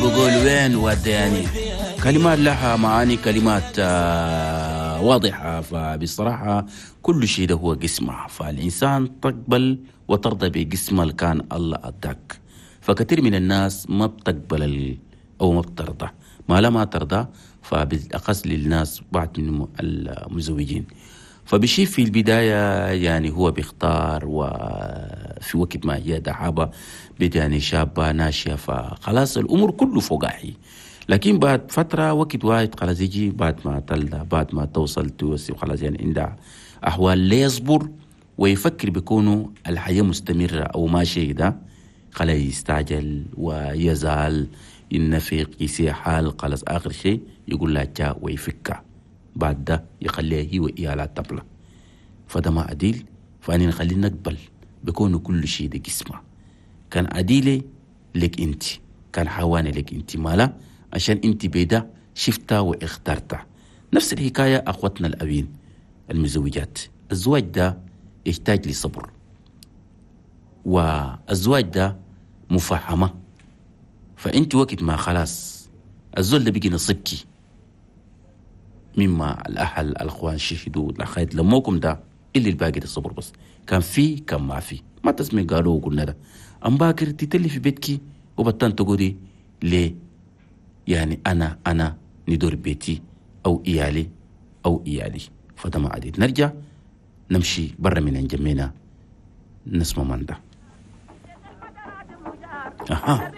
بقول وين وداني. كلمات لها معاني، كلمات واضحة. فبصراحة كل شيء ده هو قسمة، فالإنسان تقبل وترضى بقسمة اللي كان الله أداك. فكثير من الناس ما بتقبل أو ما بترضى، ما لا ما ترضى، فبالأخص للناس بعض من المزوجين. فبشي في البداية يعني هو بيختار، وفي وقت ما هي دعابة يعني شابة ناشئة، فخلاص الأمور كله فوقاحي. لكن بعد فترة وقت واحد خلاص يجي بعد ما تلدى، بعد ما توصل توسي وخلاص يعني عندها أحوال لا يصبر ويفكر بكونه الحياة مستمرة أو ماشية ده، خلاص يستعجل ويزال ينفق يسيح حال، خلاص آخر شيء يقول لها جاء ويفكها، بعد ده يخليها هي وإياها تبلة. فده ما عديل. فأنا نخلي نقبل بكونه كل شيء ده قسمة. كان عديلة لك أنت، كان حواني لك أنت، مالا عشان أنت بيدا شفتها واخترتها. نفس الحكاية أخوتنا الأبين المزوجات، الزواج ده يحتاج لصبر، والزواج ده مفاهمة. فأنت وقت ما خلاص الزول ده بيجي نصيبك مما الأهل الأخوان شهدوا الأخوات لموكم ده اللي الباقي ده صبر بس، كان في كان ما في، ما تسمي قالوا وقلنا ده أم باكر تتلي في بيتك وبطن تقولي ليه يعني أنا ندور بيتي أو إيالي أو إيالي. فده ما عديد. نرجع نمشي برا من جمينا نسمع من ده. أها.